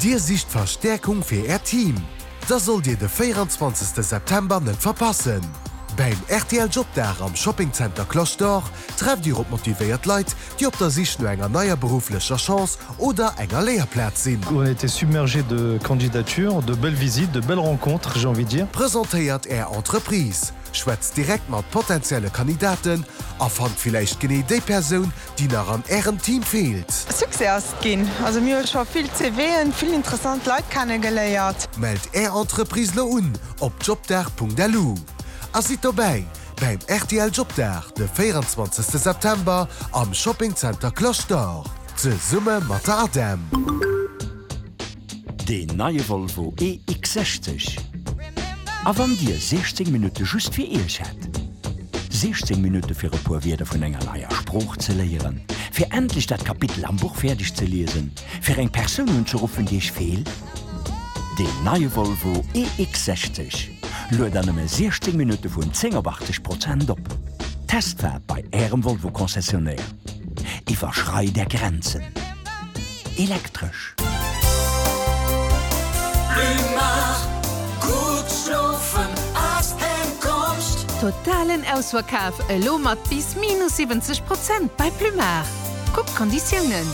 Dir sicht Verstäerkung fir Äert Team? Da sollt Dir de 24 September net verpassen! Beim rtl Jobdag am Shopping Center Cloche d'Or trefft Dir op motivéiert Leit, déi op der Sich no enger neier berufflecher Chance oder enger Léierplaz sinn. On a été submergé de candidatures, de belles visites, de belles rencontres, j'ai envie de dire. Presentéiert Är Entreprise, schwätzt direkt mat potentielle Kandidaten a fannt villäicht genee déi Persoun, déi nach an Ärem Team feelt. Succès ass et ginn. Also mir hu scho vill CVen, vill interessant Leit kenne geléiert. Mellt Är Entreprise lo un op jobdag.lu a sidd dobäi bäim rtl Jobdag de 24 September am Shopping Center Cloche d'Or zesumme mat der ADEM. Deen neie Volvo EX60. A wann Dir 16 Minutte just fir Iech hätt? 16 Minutte fir e puer Wierder vun enger neier Sprooch ze léieren, fir endlech dat Kapitel am Buch fäerdeg ze liesen, fir eng Persoun unzeruffen, déi Iech feelt? Deen neie Volvo EX60 luet an nëmme 16 Minutte vun 10 op 80 Prozent op. Testfaart bei Ärem Volvo-Concessionnaire. Iwwerschreit Är Grenzen. Elektresch. Totalen Ausverkaf elo mat bis minus 70 Prozent bei Plumar. Kuck d'Konditiounen.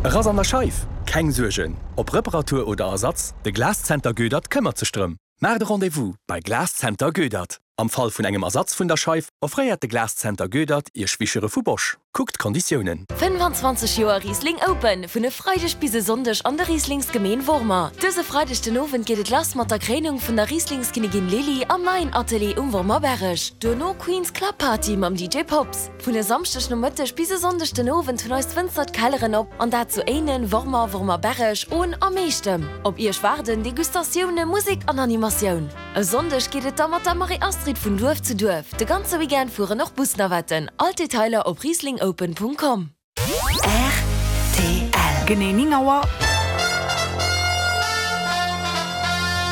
E Rass an der Scheif? Keng Suergen, ob Reparatur oder Ersatz, de Glaszenter Goedert këmmert sech drëm. Maacht e Rendez-vous bei Glaszenter Goedert. Am Fall vun engem Ersatz vun der Scheif offréiert de Glaszenter Goedert Iech Wischere vu Bosch. Kuckt d'Konditiounen. 25 Joer Riesling Open, vun e Freideg bis e Sonndeg an der Rieslingsgemeen Wormer. Dëse Freideg den Owend geet et lass mat der Kréinung vun der Rieslingskinnigin Lily am neien Atelier um Wormerberreg. Duerno Queen's Club Party mam DJ Pops. Vun e Samschdeg Nomëtteg bis e Sonndeg den Owend hunn eis Wënzer d'Kelleren op, an dat zu Éinen, Wormer, Wormerberreg, Ohn a Meechtem. Op Iech waarden Degustatioune, Musek an Animatioun. E Sonndeg geet et da mat der Marie-Astrid vun Duerf zu Duerf. De ganze Weekend fueren och Busnavetten. All d'Detailer op rieslingopen.com. Rtl. Genee 9 Auer.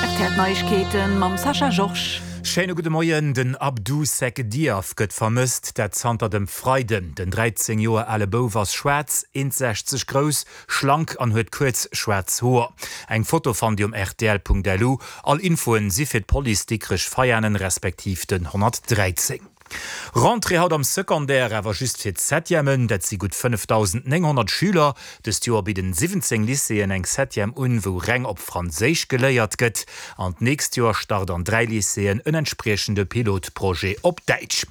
Rtl Neiegkeeten mam Sascha Georges. Schéine gudde Moien. Den Abdou Seck Diaf gëtt vermësst, dat zanter dem Freiden. Den 13 Joer ale Bouf ass schwaarz, 1,60 grouss, schlank an huet kuerz schwaarz Hoer. Eng Foto fannt Dir um rtl.lu. All Infoen si fir d'Police Dikrech Veianen respektiv den 113. Rentrée haut am Secondaire, awer just fir d'Septièmen. Dat si gutt 5.900 Schüler. Dëst Joer bidden 17 Lycéeën eng Septième un, wou reng op Franséisch geléiert gëtt. An d'nächst Joer start an 3 Lycéeën en entspriechende Pilotprojet op Däitsch.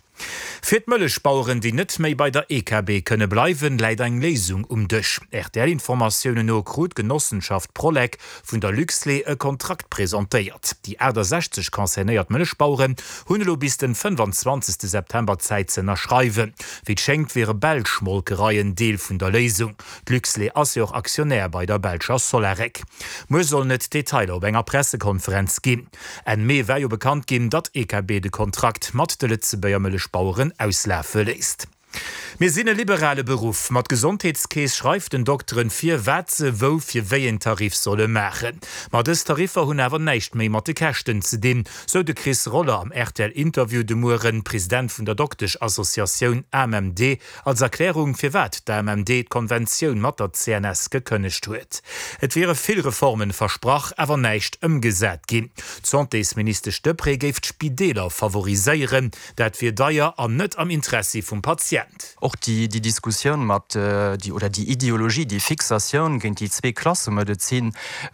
Fir d'Mëllechbaueren, déi net méi bei der EKB kënne bleiwen, läit eng Léisung um Dësch. RTL-Informatiounen no krut d'Genossenschaft Prolec vun der Luxlait e Kontrakt presentéiert. Déi 68 concernéiert Mëllechbaueren hunn elo bis den 25 September Zäit ze ënnerschreiwen. Wéi et schéngt wiere belsch Molkereien Deel vun der Léisung. D'Luxlait ass jo och Aktionär bei der belscher Solarec. Muer sollen et Detailer op enger Pressekonferenz ginn. Enn Mee war jo bekannt ginn, datt EKB de Kontrakt mat de Lëtzebuerger Mëllechbaueren auslafe léisst. Mir sinn e liberale Beruff. Ma d'Gesondheetskeess schreift den Dokteren vir, wat se wou fir wéi een Tarif solle maachen. Ma dës Tariffer hunn awer näischt méi mat de Käschten ze dinn, sou de Chris Roller am RTL-Interview de Mueren, President vun der Doktesch-Associatioun AMMD. Als Erklärung, firwat d'AMMD d'Konventioun mat der CNS gekënnegt huet. Et wiere vill Reformen versprach, awer näischt ëmgesat ginn. D'Santésministesch Deprez géif d'Spideeler favoriséieren. Dat wier deier an net am Interessi vum Patient. Och déi Diskussioun mat, oder déi Ideologie, déi Fixatioun géint déi Zweeklassemedezin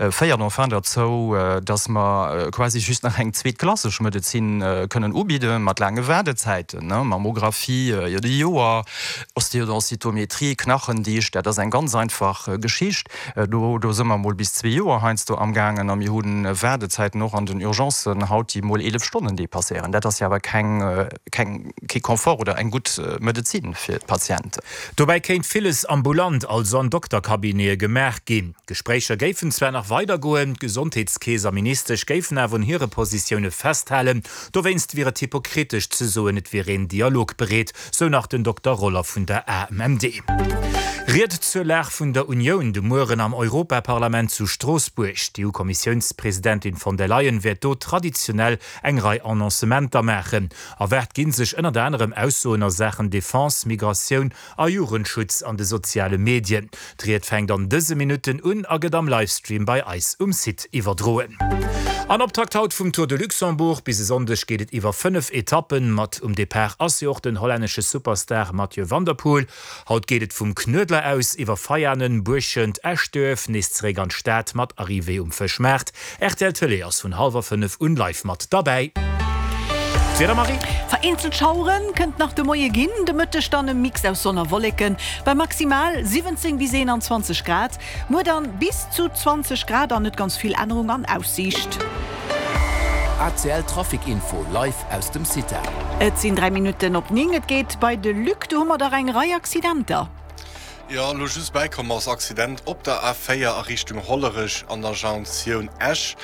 féiert enfin derzou, dass mer quasi just nach eng zweetklasseg Medezin kënnen ubidde mat laange Waardezäiten, Mammographie iert e Joer, Ostéodensitométrie, Knachendicht, dat ass eng ganz einfach Geschicht, do do si mer mol bis zwee Joer heiansdo amgaangen a mir hu Waardezäiten och an den Urgencen haut, déi mol 11 Stonnen dépasséieren. Dat ass jo awer keng keng kee Confort oder eng gutt Medezin fir d'Patienten. Dobäi kéint villes ambulant, also an Doktercabinete gemaach ginn. D'Gespréicher géifen zwar nach weidergoen, d'Gesondheetskeess a Ministesch géifen awer un hire Positioune festhalen. Dowéinst wier et hypokritesch ze soen, et wier een dialogbereet, sou nach den Dokter Roller vun der AMMD. Ried zur Lag vun der Unioun de Mueren am Europaparlament zu Stroossbuerg. D'EU-Kommissiounspresidentin von der Leyen wäert do traditionell eng Rei Annoncementer maachen. Erwaart gi sech ënnert anerem Aussoen a Saachen Defense, Migratioun a Jugendschutz an de soziale Medien. D'Ried fänkt an dëse Minutten un a gëtt am Livestream bei eis um Site iwwerdroen. An Optakt haut vum Tour de Luxembourg. Bis e Sonndeg geet et iwwer 5 Etappen. Mat um Depart ass jo och den hollännesche Superstar Mathieu van der Poel. Haut geet et vum Knuedler aus iwwer Veianen, Buerschent, Eschduerf nees zeréck an d'Stad mat Arrivée um Fëschmaart. Rtl Tëlee ass vun hallwer 5 un live mat derbäi. D'Wieder, Marie? Vereenzelt Schaueren kënnt nach de Moie ginn, de Mëtteg dann e Mix aus Sonn a Wolleken bei maximal 17 bis 21 Grad. Muer dann bis zu 20 Grad an net ganz vill Ännerung an Aussiicht. ACL Trafic Info live aus dem CITA. Et sinn 3 Minutten op 9, et geet bei de Luc. Do hu mer dach eng Rei Accidenter. Jo, elo just bäikomm ass Accident op der A4 a Richtung Hollerech an der Jonktioun Esch.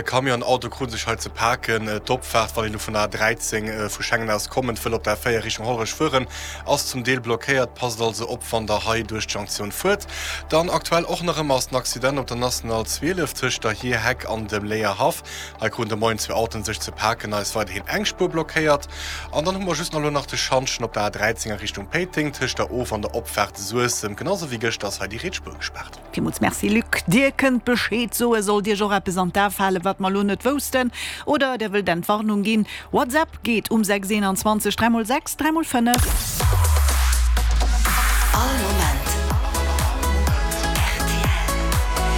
Camion an Auto kruten sech hei ze paken. D'Opfaart, wann een elo vun der A13 vu Schengen aus kommend wëll op der A4 Richtung Hollerech fueren, ass zum Deel blockéiert. Passt also op, wann der hei duerch d'Jonktioun fuert. Dann aktuell och nach ëmmer ass den Accident op der National 12 tëscht der Hierheck an dem Léierhaff. Hei kruten de Moien zwee Autoen sech ze paken, hei ass weiderhin eng Spuer blockéiert. An dann hu mer just nach elo nach de Schantjen op der A13 a Richtung Péiteng, tëscht der Of an der Opfaart Suessem. Genau sou wéi gëschter ass hei déi riets Spuer gespaart. Villmools Merci Luc. Dir kënnt Bescheed soen, sollt Iech och eppes an d'A falen, wat mer elo net woussten, oder der wëllt Entwarnung ginn. WhatsApp geet um 6 21 3 x 6 3 x 5. All Moment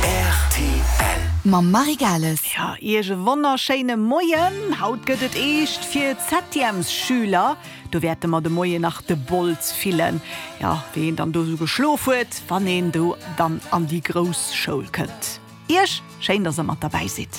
rtl. Mam Marie Gales. Jo, Iech e wonnerschéine Moien. Haut gëtt et eescht fir d'Septièmesschüler. Do wäerte mer de Moien nach de Bols fillen. Jo, wéi een dann do sou geschlof huet, wann een do dann an déi grouss Schoul kënnt. Iech schéin, dass der mat derbäi sidd.